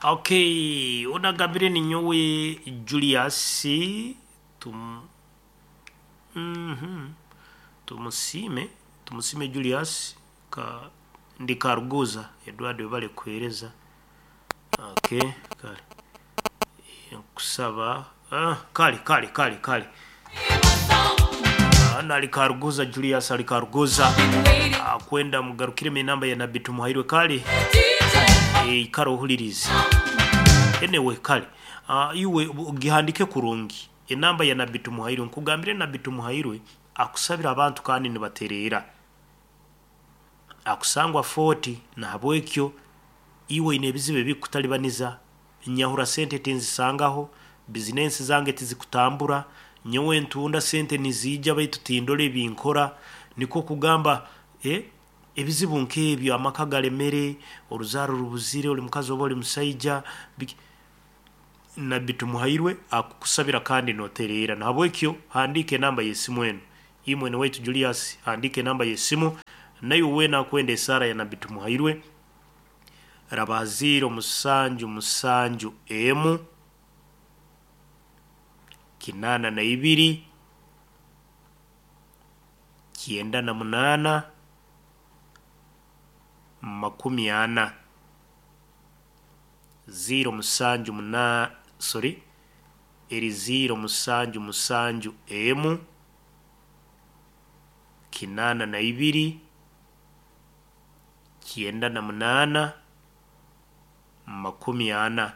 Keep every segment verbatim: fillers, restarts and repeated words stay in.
Okay, onagambire ninyowe Julius tum mm Tumusiime Tumusiime Julius ka ndi Karuguza Edward webale kuhereza. Okay, kale nkusaba ah, kale kale kale kale Ah, nali Karuguza Julius ali Karuguza Ah, kwenda mugarukire enamba ya Nabbi Tumuhairwe kale eh, kale ohulirize anyway kale uh, iwe gihandike kurungi enamba ya Nabbi Tumuhairwe nkugambire Nabbi Tumuhairwe akusabira abantu kandi nibaterera akusangwa forty nahabwekyo iwe ine ebizibu ebikutalibaniza nyahura sente tinzisangaho bizinensi zange tizikutambura nyowe ntunda sente nizija baitu tindora ebinkora nikwo kugamba eh, ebizibu nk'ebyo amaka galemere oruzaaro rubuzire oli mukazi oba oli musaija biki- Nabbi Tumuhairwe akukusabira kandi noterera nahabwekyo handika enamba y'esimu eno imwe waitu Julius handika enamba y'esimu nayo wena akwenda esaara ya Nabbi Tumuhairwe raba ziro musanju musanju emu kinana na ibiri kyenda na munana makumi ana ziro musanju muna sorry eri ziro musanju musanju emu kinana na ibiri kyenda na munana makumi ana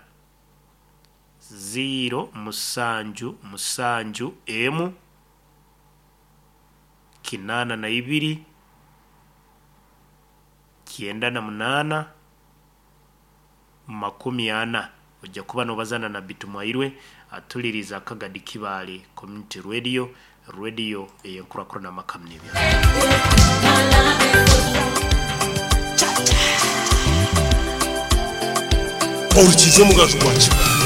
ziro musanju musanju emu kinana na ibiri kyenda na munana makumi ana ojja kuba nobazana na Tumuhairwe atuliriza akagadi Kibaale Community Radio radio eyenkurakurana amakamnibya Orukiza omugaju gwa Kibaale.